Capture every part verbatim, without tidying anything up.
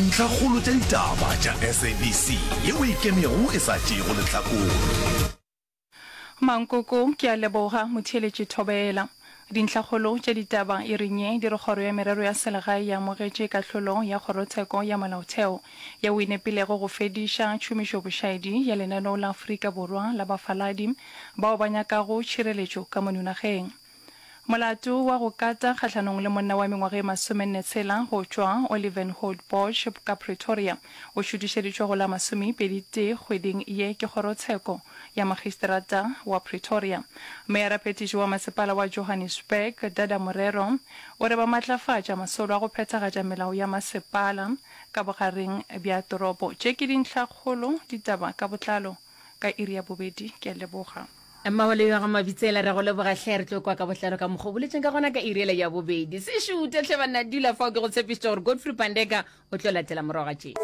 Ntlhakgolo tša ditaba tša S A B C yeo e ikemego e sa tšeego lehlakore. Mankoko, ke a leboga motheeletši. Thobela. Dintlhakgolo tša ditaba e reng ye di re kgoro ya merero ya selegae ya amogetše kahlolo ya kgorotsheko ya molaotheo yeo e nepilego go fediša tšhomišobošaedi ya lenaneo la Afrika Borwa la bafaladi bao ba nyakago tšhireletšo ka mono nageng. Molato wa go kata kgahlanong le monna wa mengwaga e masomenne tshela go tšwa Olivenhout Bosch ka Pretoria o šutišeditšwe go la masomepedi tee kgweding ye ke kgorotsheko ya magistrata wa Pretoria. Meyara phetiši wa masepala wa Johannesburg, Dada Morero, o re ba matlafatša masolo a go phethagatša melao ya masepala ka bogareng bja toropo. Tše ke dintlhakgolo, ditaba ka botlalo ka iri ya bobedi. Ke a leboga. Mmawale ya ga Mabitsela, re go leboga hle. Re tlo kwa ka botlalo ka mokgwa o boletseng ka gona ka iri ya bobedi. Se šute tlhe banna, dula fao, ke go tshepišitše gore Godfrey Pandeka o tlo latela morago ga tše.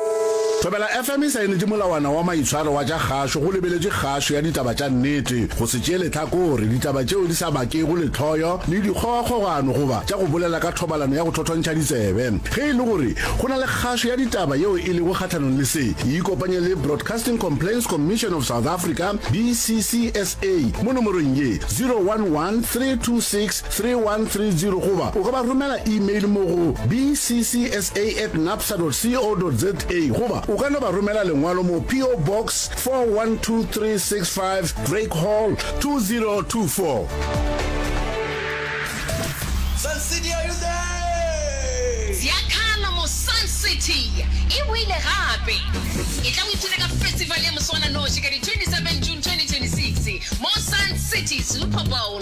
Thobela F M e saenetše molawana wa maitshwaro wa tša kgašo go lebeletše kgašo ya ditaba tša nnete, go se tšee lehlakore, ditaba tšeo di sa bakego lehloyo le dikgogakgogano goba tša go bolela ka thobalano ya go thothontšha ditsebe. Ge e le gore go na le kgašo ya ditaba yeo e lego kgahlanong le se, e ikopanye le Broadcasting Complaints Commission of South Africa, B C C S A, mo nomorong ye zero one one, three two six, three one three zero goba o ka ba romela email mo go B C C S A at napsa co za goba o ka no ba romela lengwalo mo P O Box four one two three six five, Drake Hall, two zero two four. Sun City, are you there? Ziyakhala mo Sun City e boile gape. E tla o ipshine ka festival ya moswananoši ka di twenty-seven June twenty twenty-six mo Sun City Super Bowl.